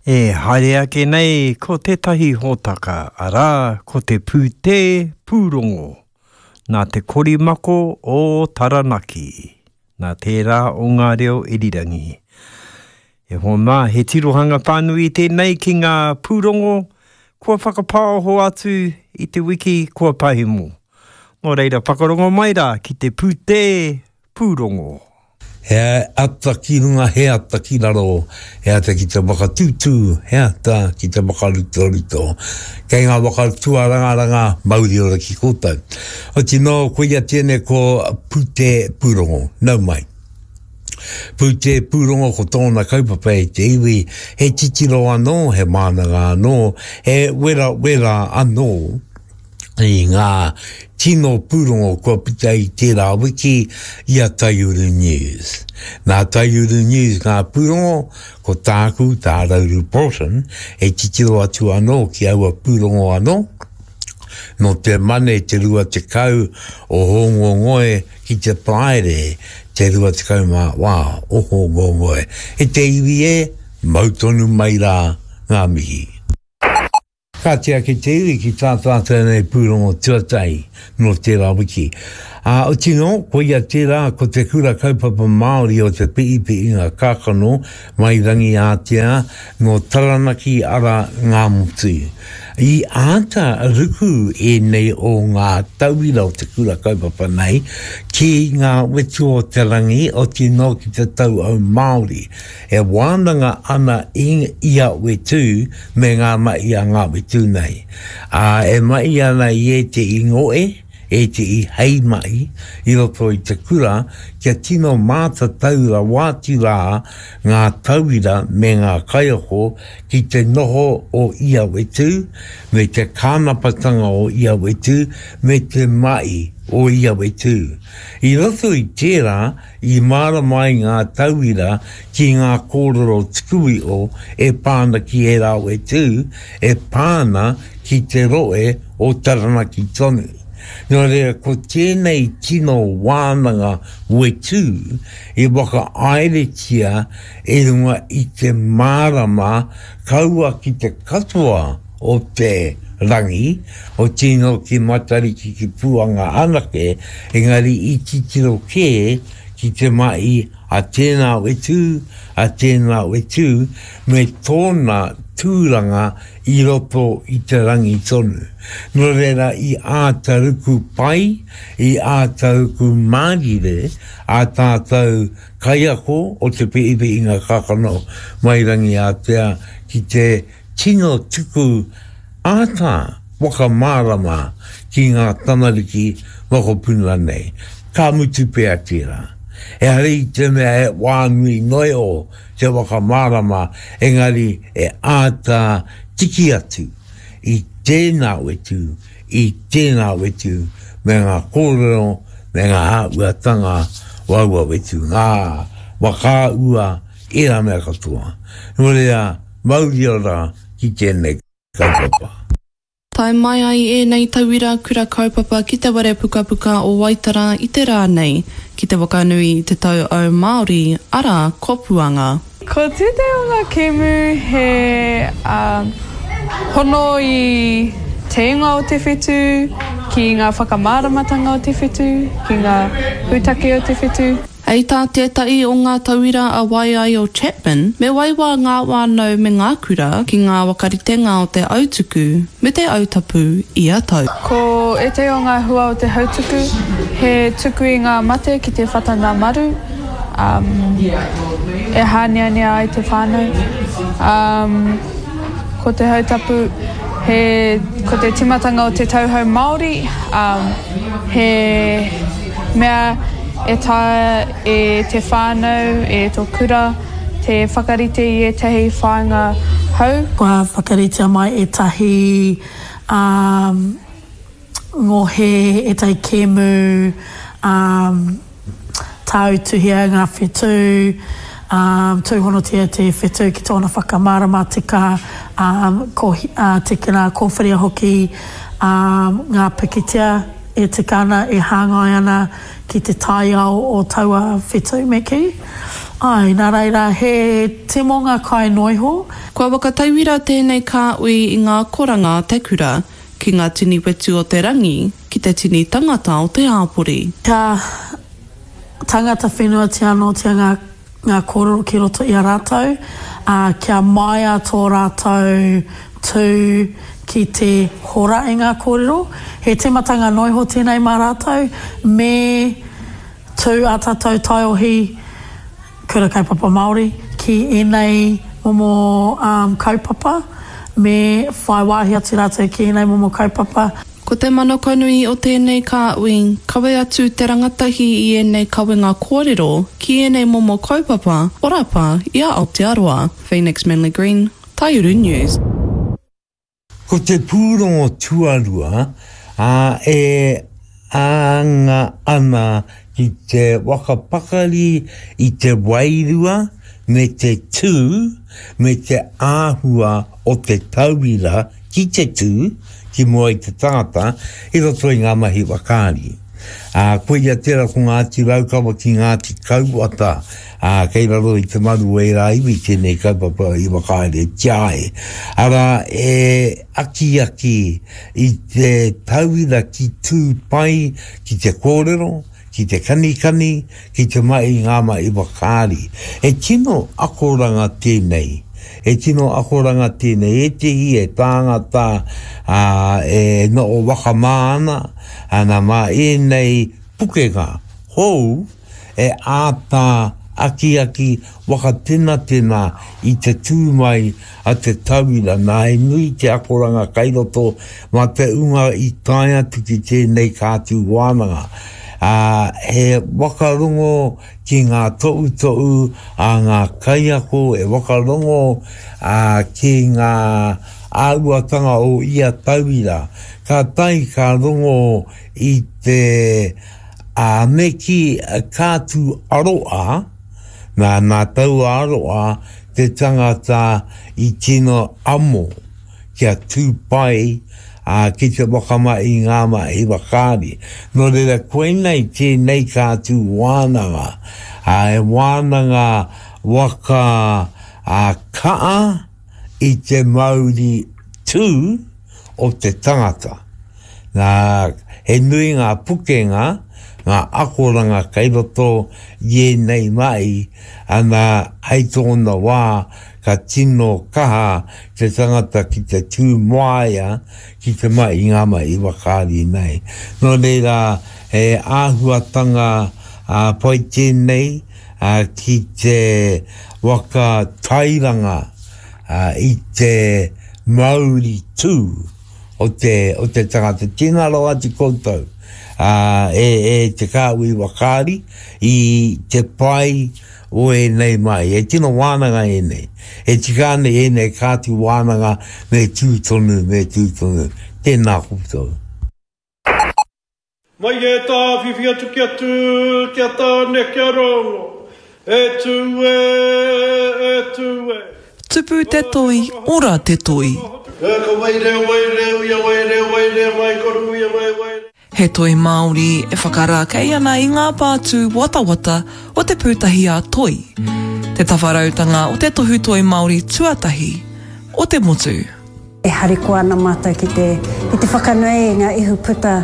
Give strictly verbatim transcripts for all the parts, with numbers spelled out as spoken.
E haere ake nei ko tētahi hōtaka, arā, ko te pūtē pūrongo, nā te korimako o Taranaki, nā tērā o ngā reo irirangi. E hoa mā, he tirohanga whānui tēnei ki ngā pūrongo kua whakapāoho atu i te wiki kua pahemo. Nō reira, whakarongo mai rā ki te pūtē pūrongo. He ata ki runga, he ata ki raro, he ata ki te waka tūtū, he ata ki te waka rutoruto. Kei ngā waka tuarangaranga, mauri ora ki koutou. Oti nō, koia tēnei ko Pūtē Pūrongo. Nau mai. Pūtē Pūrongo ko tōna kaupapa e te iwi, he titiro anō, he mānanga anō, he werawera anō i ngā tino pūrongo kua puta i tērā wiki i a Taiuru News. Nā Taiuru News ngā pūrongo, ko tāku, tā Rauru Broughton, e titiro atu anō ki aua pūrongo anō, nō te Mane te rua tekau o Hōngongoe ki te Paraire te rua tekau mā wā o Hōngongoe. E te iwi e, mau tonu mai rā ngā mihi. Ka tiaki te iwi ki tā tātou nei pūrongo tuatahi nō tērā wiki. Ā, oti nō, koia tērā ko te Kura Kaupapa Māori o Te Pi'ipi'inga Kākano mai Rangiātea nō Taranaki ara Ngāmotu. I āta ruku ēnei o ngā tauira o te kura kaupapa nei ki ngā wetu o te rangi, oti nō ki te tauau Māori. E wānanga ana i ia whetū me ngā mahi a ngā whetū nei. Ā, e mahi ana i ētehi ngoe, ētehi hei mahi i roto i te kura kia tino mātatau rawa atu rā ngā tauira me ngā kaiako ki te noho o ia whetū, me te kānapatanga o ia whetū, me te mahi o ia whetū. I roto i tērā, I mārama ai ngā tauira ki ngā kōrero tuku iho e pā ana ki ērā whetū, e pā ana ki te rohe o Taranaki tonu. Nō reira, ko tēnei tino wānanga whetū i whakahaeretia i runga i te mārama kaua ki te katoa o te rangi, otirā ki Matariki ki Puanga anake, engari i titiro kē ki te mahi a tēnā whetū, a tēnā whetū, me tōna tūranga i roto i te rangi tonu. Nō reira i āta ruku pai, i āta ruku mārire ā tātou kaiako o Te Pi'ipi'inga Kākano mai Rangiātea ki te tino tuku āta whakamārama ki ngā tamariki mokopuna nei. Ka mutu pea tērā. Ehara i te mea he wā nui noa iho te whakamārama, engari e āta tiki atu i tēnā whetū, i tēnā whetū me ngā kōrero me ngā āhuatanga o aua whetū, ngā whakaahua, ērā mea katoa. Nō reira, mauri ora ki tēnei kaupapa. Tae mai ai ēnei tauira kura kaupapa ki te whare pukapuka o Waitara i te rā nei, ki te whakanui i te tau au Māori, arā, ko Puanga. Ko tētahi o ngā kēmu he hono i te ingoa o te whetū, ki ngā whakamāramatanga o te whetū, ki ngā pūtake o te whetū. Hei tā tētahi o ngā tauira a Waiaio Chapman, me waiwā ngā whānau me ngā kura ki ngā whakaritenga o te autuku me te autapu ia tau. Ko ētahi o ngā hua o te hautuku, he tuku i ngā mate ki te whata nā maru, e hāneanea ai te whānau. Ko te hautapu, he, ko te tīmatanga o te tauhou Māori, he mea e taea e te whānau, e tō kura, te whakarite i ētahi whāinga hou. Kua whakaritea mai ētahi ngohe, ētahi kēmu, Tāutuhia ngā whetū, ā, tūhonotia te whetū ki tōna whakamārama tika, ā, ko, ā, tīkina, kōwhiria hoki, ā, ngā pikitia e tika ana, e hāngai ana ki te taiao o taua whetū, me kī. Āe, nā reira, he timonga kai noiho. Kua whakatauira tēnei kāhui i ngā koranga a te kura, ki ngā tini whetu o te rangi, ki te tini tangata o te hāpori. Kia tangata whenuatia anōtia ngā, ngā kōrero ki roto i a rātou, ā, kia māia tō rātou tū ki te hora i ngā kōrero. He tīmatanga noiho tēnei mā rātou, me tū ā tātou taiohi Kura Kaupapa Māori ki ēnei momo kaupapa, me whai wāhi atu rātou ki ēnei momo kaupapa. Ko te manakonui o tēnei kāhui, kawe atu te rangatahi i ēnei kawenga kōrero ki ēnei momo kaupapa orapa i a Aotearoa. Phoenix Manly-Green, Taiuru News. Ko te pūrongo tuarua, ā, e anga ana ki te whakapakari i te wairua me te tū me te āhua o te tauira ki te tū ki mua i te tangata i roto i ngā mahi whakaari. Ā, koia tērā ko Ngāti Raukawa ki Ngāti Kauwhata, ā, kei raro i te maru o ērā iwi tēnei kaupapa i whakahaeretia ai. Arā, e akiaki i te tauira ki tū pai ki te kōrero, ki te kanikani, ki te mahi i ngā mahi whakaari. He tino akoranga tēnei. He tino akoranga tēnei. Ētehi e tāngata, ā, e noho whakamā ana, ana mā ēnei pukenga hou e āta akiaki whakatenatena i te tū mai a te tauira. Nā, he nui te akoranga kai roto mā te unga i tae atu ki tēnei kātū wānanga. Ā, he whakarongo ki ngā tohutohu a ngā kaiako, he whakarongo ki ngā āhuatanga o ia tauira. Ka tae ka rongo i te ā, me kī ka tū aroā, nā, nā taua aroā te tangata i tino amo kia tū pai, ā, ki te whakamahi i ngā mahi whakaari. Nō reira, koinei tēnei ka tū wānanga, ā, he wānanga waka, ā, kaa i te mauri tū o te tangata. Nā, he nui ngā pukenga, ngā akoranga kei roto i ēnei mahi, ana, hei tōna wā, ka tino kaha te tangata ki te tū moaia ki te mahi i ngā mahi whakaari nei. Nō reira, he āhuatanga pai tēnei ki te waka tairanga i te mauri tū o te, o te tangata. Tēnā rawa atu koutou e, e te kāhui whakaari i te pai o ēnei mahi. He tino wānanga ēnei. E tika ana ēnei kāti wānanga me tū tonu, me tū tonu. Tēnā koutou. Mai e tāwhiwhi atu ki a Tū, ki a Tāne, ki a Rongo. E tū e, e tū e. Tupu te toi, ora te toi. E ka waireo, waireo ia, waireo, waireo mai, koru ia, mai, waireo. He toi Māori e whakarākei ana i ngā pātū watawata o te pūtahi ā-toi, te tawharautanga o te tohu toi Māori tuatahi o te motu. E harikoa ana mātou ki te, ki te whakanui i ngā ihu puta,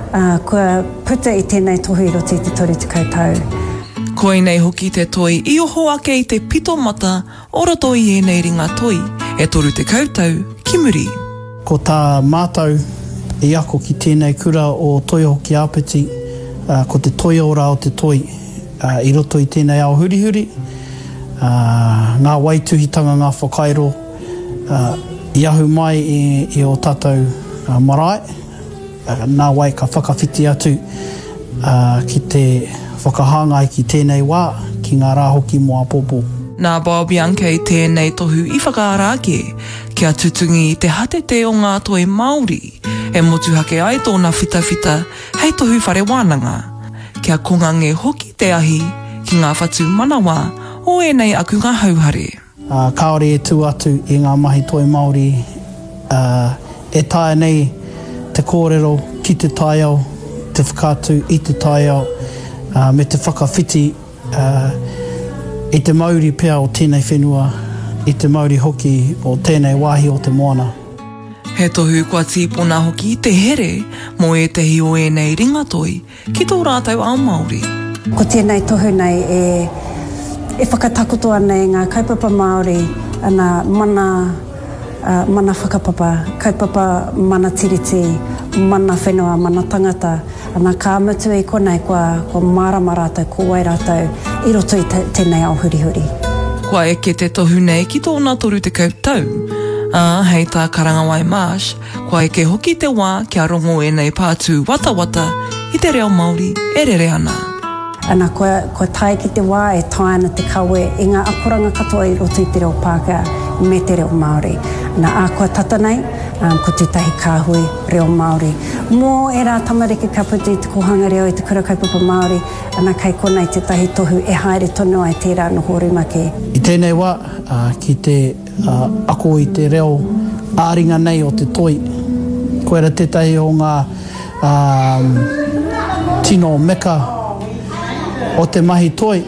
ā, kua puta i tēnei tohu i roto i te toru tekau tau. Koinei hoki te toi i oho ake i te pito mata o roto i ēnei ringa toi e toru tekau tau ki muri. Ko tā mātou i ako ki tēnei kura o Toioho ki Āpiti, ko te toiora o te toi i roto i tēnei ao hurihuri, ngā waituhitanga, ngā whakairo i ahu mai i ō tātou marae, nāwai ka whakawhiti atu ki te whakahāngai ki tēnei wā, ki ngā rā hoki mō āpōpō. Nā Bob Yankey tēnei tohu i whakaara ake, kia tutungi i te hatete o ngā toi Māori, e motuhake ai tōna whitawhita hei tohu whare wānanga, kia kongange hoki te ahi ki ngā whatu manawa o ēnei akunga hauhare. Ā, kāore e tū atu i ngā mahi toi Māori, ā, e taea nei te kōrero ki te taiao, te whakaatu i te taiao, ā, me te whakawhiti, ā, i te mauri pea o tēnei whenua, i te mauri hoki o tēnei wāhi o te moana. He tohu kua tīpona hoki te here mō ētahi o ēnei ringatoi ki tō rātou ao Māori. Ko tēnei tohu nei e e whakatakoto ana i ngā kaupapa Māori, ana mana, mana whakapapa, kaupapa mana tiriti, mana whenua, mana tangata, ana ka mutu i konei kua, kua mārama rātou ko wai rātou i roto i tēnei ao hurihuri. Kua eke te tohu nei ki tōna toru tekau tau, ā, hei tā Karangawai Marsh, kua eke hoki te wā kia rongo ēnei pātū watawata i te reo Māori e rere ana. Ana, kua, kua tae ki te wā e taea ana te kawe i ngā akoranga katoa i roto i te reo Pākehā me te reo Māori. Ana, ā, kua tata nei, um, ko tētahi kāhui reo Māori. Mō ērā tamariki ka puta i te kōhanga reo, i te kura kaupapa Māori, ana, kei konei tētahi tohu e haere tonu ai tērā noho rumaki. I tēnei wā, ki te ako i te reo ā-ringa nei o te toi, koira tētahi o ngā tino meka o te mahi toi,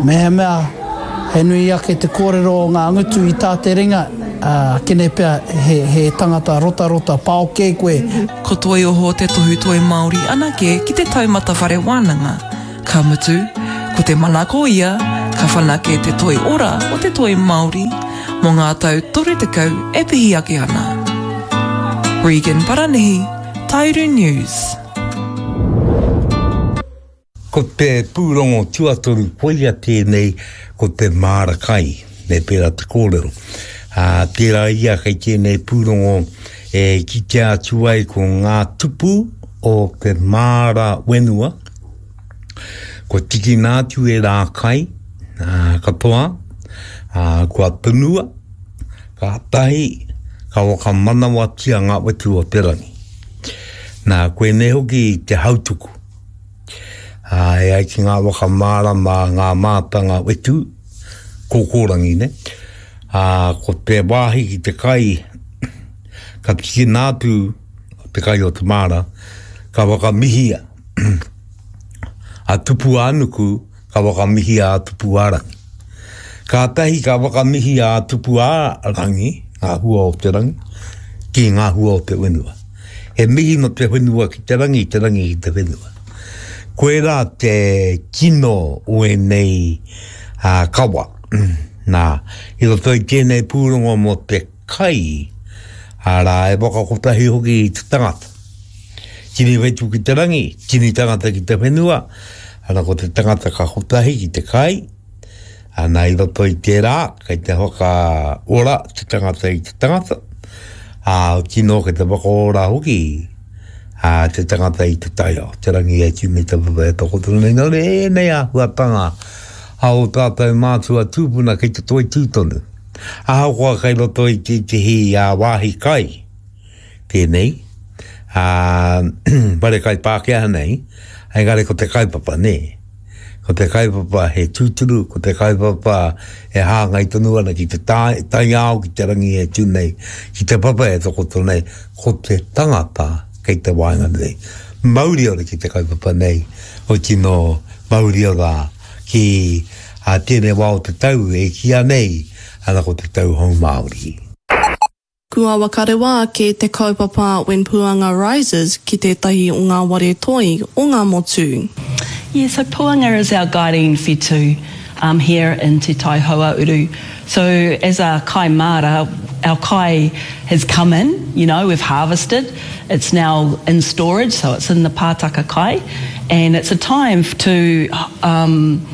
mehemea he nui ake te kōrero o ngā ngutu i tā te ringa, kene pea he, he tangata rotarota pao kē koe. Ko Toioho te tohu toi Māori anake ki te taumata whare wānanga, ka mutu, ko te manako ia, ka whanake te toi ora o te toi Māori mō ngā tau toru tekau e pihi ake ana. Regan Paranihi, Tairu News. Ko te pūrongo tuatoru koia tēnei, ko te māra kai, me pērā te kōrero. Ā, tērā ia kei tēnei pūrongo e kitea atu ai ko ngā tupu o te māra whenua, kua tikina atu e rā kai, ā, katoa, ā, kua tunua, kātahi ka whakamanawatia ngā whetū o te rangi. Nā, koinei hoki te hautuku. Ā, e ai ki ngā waka mārama, ngā mātanga whetū, kōkōrangi, ne? Ā, ko te wāhi ki te kai, ka tikina atu te kai o te māra, ka whakamihia a Tupu-ā-nuku, ka whakamihia a Tupu-ā-rangi. Kātahi ka whakamihia a Tupu-ā-rangi, ngā hua o te rangi, ki ngā hua o te whenua. He mihi no te whenua ki te rangi, te rangi ki te whenua. Koirā te kino o ēnei kawa. Nā, i roto i tēnei pūrongo mō te kai, arā, e whakakotahi hoki i te tangata. Tini whetū ki te rangi, tini tangata ki te whenua, arā, ko te tangata ka kotahi ki te kai, ana, i roto i tērā, kei te whakaora te tangata i te tangata, ā, tino kei te whakaora hoki ā, te tangata i te taiao, te rangi e tū me te papa e takoto nei. Nō reira, ēnei āhuatanga a ō tātou mātua tūpuna kei te toitū tonu. Ahakoa kei roto i tētehi wāhi kai tēnei, ā, whare kai Pākehā nei, engari ko te kaupapa, nē. Ko te kaupapa he tūturu, ko te kaupapa e hāngai tonu ana ki te taiao, ki te rangi e tū nei, ki te papa e takoto nei, ko te tangata kei te waenganui. Mauri ora ki te kaupapa nei, o tino mauri ora ki a tēnei wā o te tau e kīia nei, ana ko te tau hou Māori. Kua whakarewa ake te kaupapa When Puanga Rises ki tētahi o ngā ware toi o ngā motu. Yeah, so Puanga is our guiding whetū um, here in Te Tai Hauāuru. So as a kai māra, our kai has come in, you know, we've harvested. It's now in storage, so it's in the pātaka kai. And it's a time to, um,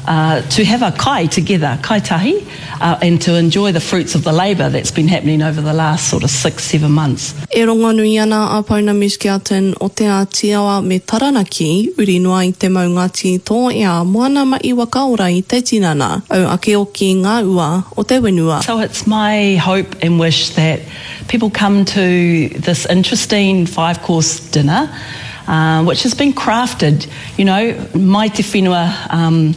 uh, to have a kai together, kai tahi, uh, and to enjoy the fruits of the labour that's been happening over the last sort of six, seven months. E rongonui ana a Pounamu Skelton o Te Āti Awa me Taranaki, uri noa i te maunga tītō moana ma i whakaora i te tinana, au ake oki ngā ua o te whenua. So it's my hope and wish that people come to this interesting five-course dinner, uh, which has been crafted, you know, mai te whenua um,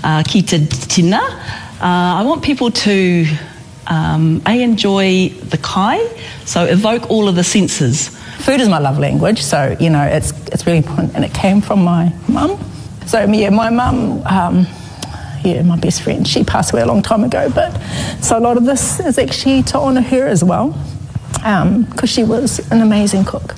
uh, ki te tina. Uh, I want people to um, A, enjoy the kai, so evoke all of the senses. Food is my love language, so, you know, it's, it's really important, and it came from my mum. So, yeah, my mum, um, yeah, my best friend. She passed away a long time ago, but so a lot of this is actually to honour her as well, because um, she was an amazing cook.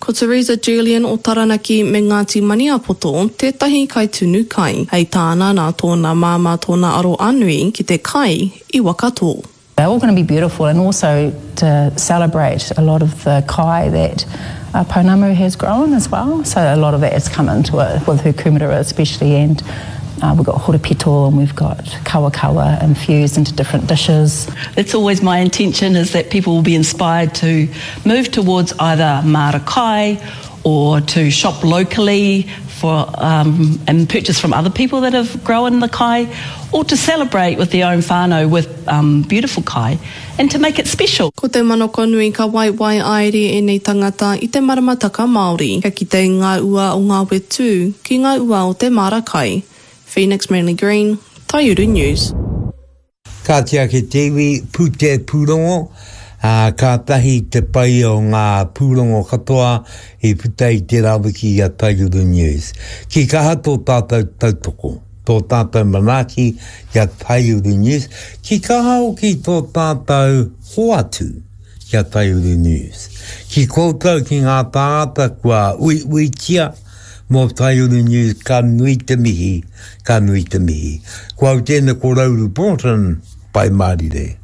Ko Teresa Julian o Taranaki me Ngāti Maniapoto tētahi kaitunu kai. Hei tāna nā tōna māmā tōna aroanui ki te kai i Wakatō. They're all going to be beautiful and also to celebrate a lot of the kai that uh, Pounamu has grown as well. So a lot of that has come into it with her kumara especially and uh, we've got horopito and we've got kawakawa infused into different dishes. It's always my intention is that people will be inspired to move towards either mara kai or to shop locally for um, and purchase from other people that have grown the kai or to celebrate with their own whānau with um, beautiful kai and to make it special. Ko te manako nui ka waiwai aere ēnei tangata i te maramataka Māori, kia kite i ngā ua o ngā whetū ki ngā ua o te māra kai. Phoenix Manly Green, Taiuru News. Kāti ake te iwi, pūtea pūrongo, ā, kātahi te pai o ngā pūrongo katoa i puta i tērā wiki i a Taiuru News. Ki kaha tō tātou tautoko, tō tātou manaaki ki a Taiuru News, ki kaha hoki tō tātou hoatu ki a Taiuru News. Ki koutou ki ngā tāngata kua uiuitia, Mō Taiuru News, ka nui te mihi, ka nui te mihi. Ko au tēnei ko Rauru Broughton, Pai Mārire.